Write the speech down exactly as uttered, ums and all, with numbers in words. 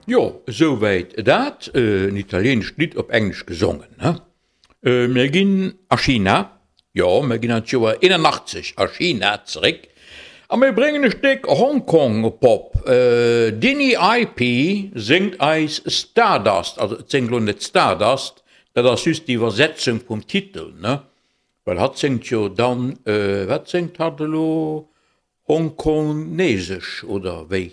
Jo, esouwäit dat, en italieenescht Lidd op Englesch gesongen, ne? Mir ginn a China, jo, mir ginn an d'Joer eenanachtzeg a China zeréck a mir bréngen e Stéck Hongkong-Pop. D'Dinny Ip séngt eis Stardust, also et séngt elo net Stardust, dat ass just d'Iwwersetzung vum Titel, ne? Well hatt séngt jo dann, wat séngt hatt elo, Hongkonesesch oder wéi?